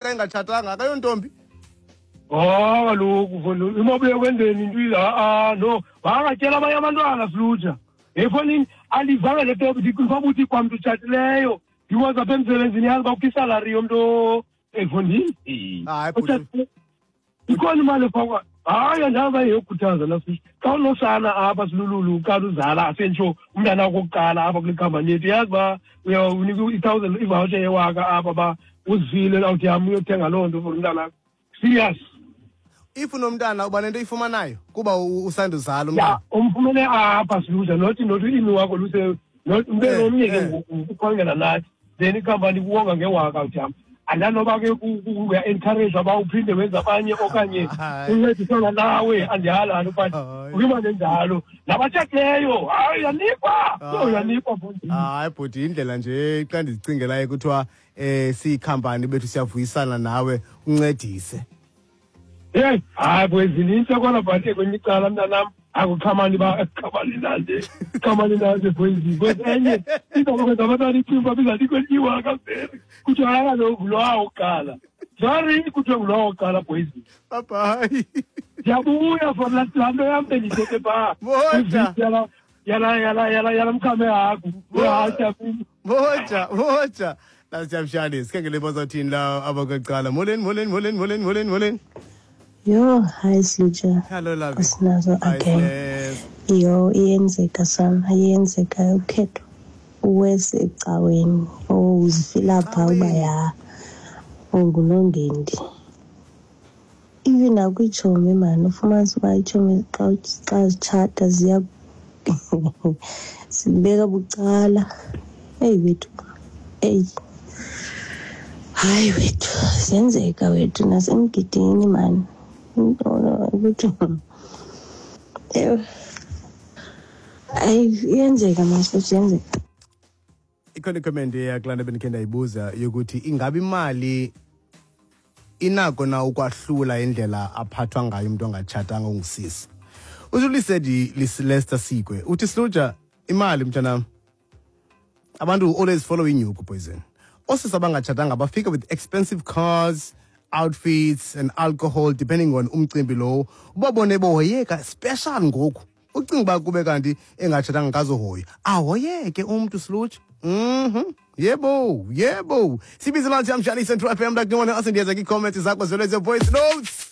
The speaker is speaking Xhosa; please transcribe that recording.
Engatshatanga akayontombi. Oh, kaloku mfondini, imabuye kwenzeni into ha-a no bangatyela abanye abantwana silutsha. Efondini andivanga le topic, ndicinga uthi kwamntu utshatileyo because apha emsebenzini yazi uba kukho isalari yomntu efondini. Hayi, bhuti. Ikhona imali efakwa. Hayi, andazi uba yeyokhuthaza nasithi xa unosana apha silululu uqala uzala asentsho umntana wakho wokuqala apha kule khampani yethu, yazi uba uyawunika i-1000 ivoucher yewaka apha uba uzifile awuthi yam uyothenga loo nto for umntana. Serious. If unomntana uba nento oyifumanayo kuba usanduzala umntana. Ya, umfumene apha siluza not imi wakho luse not ube nomnye ke ngoku ukhangela nathi, then ikhampani kuwonga ngewaka uthi yam. Andanoba ke uya-encourage uba uphinde wenze abanye okanye uncedisana nawe, andiyalani but ukiba nenjalo nabatshatileyo hayi uyanikwa. So uyanikwa mfondini. Hayi bhuti, indlela nje xa ndizicingelayo kuthiwa siyikhampani bethu siyavuyisana nawe uncedise. Hey, hayi bwezinintsi kona but kwenye icala mntanam akuqhamani ba qhamani nanje qhamani nanje bwezi kwezi enye izakwenza abantwana ithumba bizanikwe iwaka vele kuthiwa hayi kaloku ngulowa wokuqala, sorry, kuthiwa ngulowa wokuqala bwezi. Bye bye. Ndiyabuya for laa nto yam bendithethe phaa. Moja. Yala yala yala yala mkhame hagu. Uyahasha. Moja, moja. Nasiyamshani, sikhangele bazawuthini la abakwecala. Molweni, molweni, molweni, molweni, molweni, molweni. Yho, hayi Silutsha. Hello, lovey. Asinazo Hi, again. sis. Yho, iyenzeka sana, iyenzeka ukhetho uwese ecaweni. Oh, uzifila phaa uba ya ungunongendi. Even nakwiitshomi mani, ufumanise uba iitshomi xa zitshata ziya zibeka bucala. Eyi wethu, eyi hayi wethu, ziyenzeka wethu nasemgidini mani. Ukuthi ewe, hayi iyenzeka mani, iyenzeka. Ikhona icomment eyakulaa nto bendikhe ndayibuza yokuthi ingabe imali inako na ukwahlula indlela aphathwa ngayo umuntu ongatshatanga ongusisi. Ujulisedi Lester Sikwe uthi Sluja, imali mntanam, abantu always follow inyuku poison. Osisi abangatshatanga bafika with expensive cars, outfits and alcohol depending on umcimbi lowo. Ubabone bohoyeka special ngoku. Ucinga uba kube kanti engatshatanga kazohoya. Ahoyeke umntu Sluja. Yebo, yebo. Sibize manje amshani Central FM like no one else, ndiyeza kwi-comments zakho zelo voice notes.